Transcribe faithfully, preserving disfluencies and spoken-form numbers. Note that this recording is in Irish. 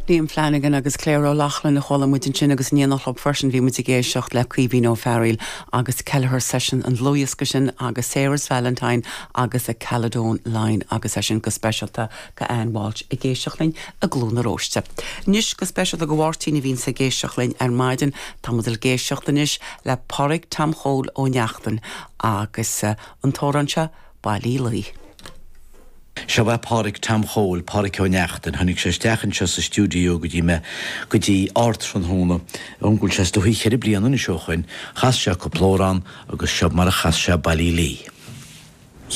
Liam Flanagan agus Claire O'Loughlin a chuala muid ansin agus ní nach freisin bhí muid ag éisteacht le Caoimhín Ó Fearghail agus Kelleher Session an dlúthdhiosca sin agus Sarah's Valentine agus a Caledon Line agus é sin go speisialta go Ann Walsh ag éisteacht linn i gCluain na Róiste. Anois go speisialta go Mháirtín a bhíonn ag éisteacht linn ar maidin tá muid ag éisteacht anois le Pádraig Tom Chóil Ó Neachtain agus uh, an t-amhrán seo Ballylee. Seo é Pádraig Tom Chóil Pádraig Ó Neachtain, tháinig sé isteach anseo sa stiúideo go dtí me go dtí ardtráthnóna an bhfuil sé sto cheithre bliana anois ó shin, chas sé cúpla amhrán agus seo mar a chas sé Ballylee.